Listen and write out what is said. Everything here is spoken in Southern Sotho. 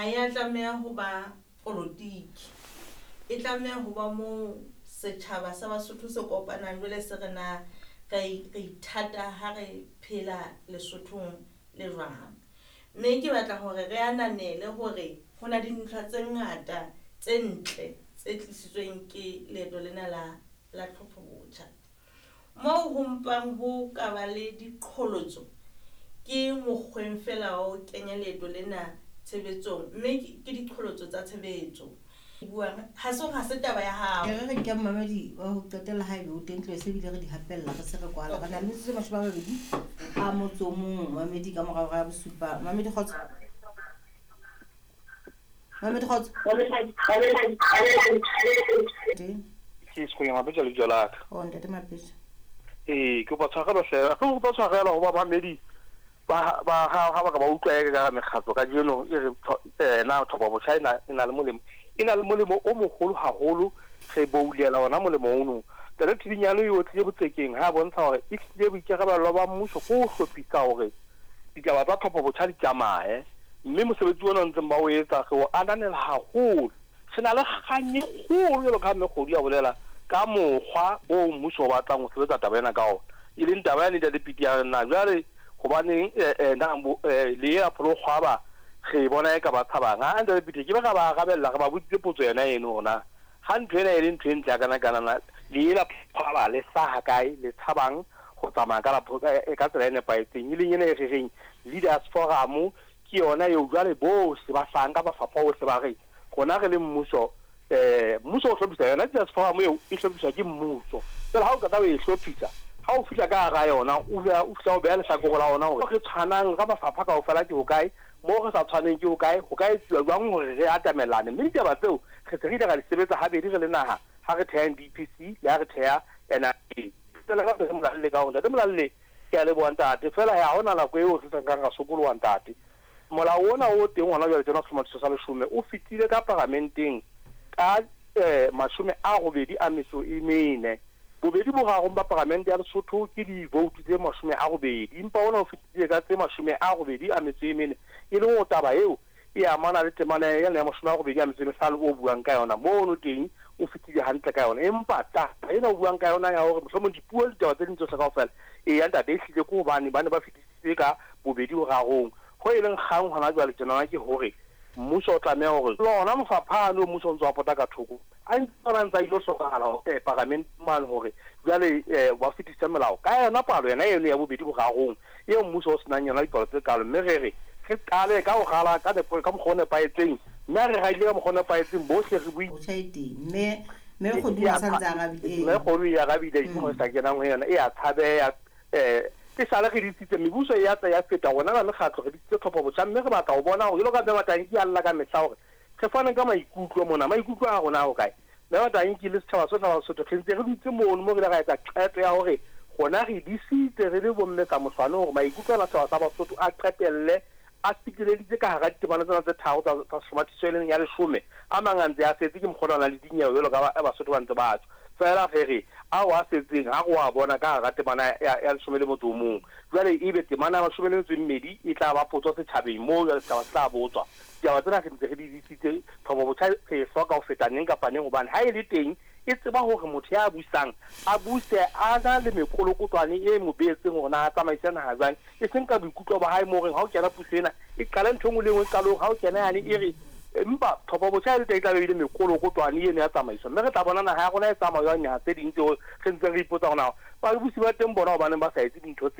Ha ya tlameha ho ba polotiki. E tlameha ho ba moo setjhaba sa Basotho se kopanang jwale se re na re ithata ha re phela Lesothong le jwang. Mme ke batla hore re ananele hore ho na dintlha tse ngata tse ntle tse tlisitsweng ke leeto lena la tlhopho botjha. Moo ho mpang ho ka ba le diqholotso ke mokgweng feela wa ho kenya leeto lena tshebetsong, mme ke diqholotso tsa tshebetso. Buang ha se ha se taba ya hao. E re re nke mmamedi wa ho qetela haebe o teng tlo se bile re di hapella re se re kwala. Re na le metsotso e 21 mamedi ka morao ga 7. Mamedi kgotso. Mamedi kgotso. Ke Sekgwenya Mapetja lebitso la ka. Oh ntate Mapetja. Ee, ke kopa tshwarelo hle. Ke kopa tshwarelo ho bamamedi ba ba ha ba ka ba utlwa e ka mekgatlo kajeno e re na tlhopho botjha e na le molemo. E na le molemo o moholo haholo, re boulela ona molemo ono. Ntate Thidinyane o tlile botsekeng ha bontsha hore e hlile boikarabelo ba mmuso ke ho hlophisa hore ditaba tsa tlhopho botjha di tsamaye, mme mosebetsi ona o ntseng ba o etsa re o ananela haholo. Re na le kgang e kgolo jwalo ka ha Mme Kgodu a bolela ka mokgwa oo mmuso o batlang ho sebetsa taba ena ka ona, e leng taba yane Ntate Piti ya re na jwale hobaneng na le ela pholokgwaba re e bona e ka ba tshabang. Ha Ntate Piti ke be ra ba arabella, re ba botsitse potso yona eno hore na ha ntho ena e le ntho e ntle hakana kana na le ela pholokgwaba le hlaha kae, le tshabang ho tsamaya ka tsela e nepahetseng, e leng ena e re reng Leaders Forum ke yona eo jwale bohle ba hlahang ka mafapha ohle ba re rona re le mmuso, mmuso o hlophisa yona Leaders Forum eo e hlophiswa ke mmuso. Jwale ha o qeta ho e hlophisa, ha o fihla ka hara yona o fihla o beha lehlakore la ona hore re tshwanang ka mafapha kaofela ke hokae, moo re sa tshwaneng ke hokae, ho ka etsuwa jwang hore re atamelane. Mme ditaba tseo re se re ile ra di sebetsa habedi re le naha ha re theha NDPC le ha re theha NRA. Qetela ka Ntate Molalle ka hore Ntate Molalle ke a leboha ntate, feela ha hona nako eo re sa nkang ra sokoloha ntate. Molao ona o teng hona jwale tjena sehlomathiso sa leshome o fetile ka paramenteng ka 84. Bobedi borarong ba paramente ya Lesotho ke di-vote tse 80, empa ona o fetile ka tse 84, e leng hore taba eo e amana le temana ena ya 85 o buang ka yona mono teng o fetile hantle ka yona. Empa taba ena o buang ka yona ya hore mohlomong dipuo le ditaba tse ding tsohle kaofela, eya ntate, ehlile ke hobane ba ne ba fetisitse ka bobedi borarong. Ho e leng kgang hona jwale tjenana ke hore mmuso o tlameha hore lona mafapha ano mmuso o ntse wa pota ka thoko a ntse ona ntse a ilo hlokahala paramenteng mane hore jwale ba fetise molao ka yona palo yona eno ya bobedi borarong eo mmuso o senang yona dipalo tse kalo. Mme re re re qale ka ho rala ka nepo ka mokgwa o nepahetseng, mme ha re radile ka mokgwa o nepahetseng bohle re bue. Botjha e teng mme mme Kgodu a sa ntse a arabile. Mme Kgodu e arabile ke mo sa kenang ho yona e a tshabeha. E sale re disitse mebuso e ya tsa ya feta rona ba mekgatlo re disitse tlhopho botjha, mme re batla ho bona hore jwalo ka Mme Matanki a lla ka mehla hore re fane ka maikutlo mona, maikutlo a rona a hokae. Mme Matanki le setjhaba sohle sa Basotho re ntse re dutse mono mo re ile ra etsa qeto ya hore rona re disitse re le bomme ka moswane hore maikutlo ana setjhaba sa Basotho a qetelle a fiteleditse ka hara ditemana tsena tse tharo tsa sehlomathiso e leng ya leshome. A mang a ntse a setse ke mokgwa ona le dinyewe jwalo ka Basotho ba ntse ba tswa. Feela re re ao a setseng ha re wa bona ka hara temana ya 11. Jwale ebe temana ya 12 e tla ba potso setjhabeng moo jwale setjhaba se tla botswa. Ditaba tsena re ntse re di disitse, tlhopho botjha re e hloka ho feta neng kapa neng hobane ha e le teng e tseba hore motho ya busang a buse a na le mekolokotwane e mo beetseng hore na a tsamaise naha jwang, e seng ka boikutlo ba hae moo reng ha o kena puso ena e qale ntho e nngwe le e nngwe qalong, ha o kena yane e re empa tlhopho botjha e le teng e tla be e le mekolokotwane eno ya tsamaiso, mme re tla bona naha ya rona e tsamaya jwang naha tse ding tseo re ntseng re ipotsa hore na babusi ba teng bona hobaneng ba sa etse dintho tse.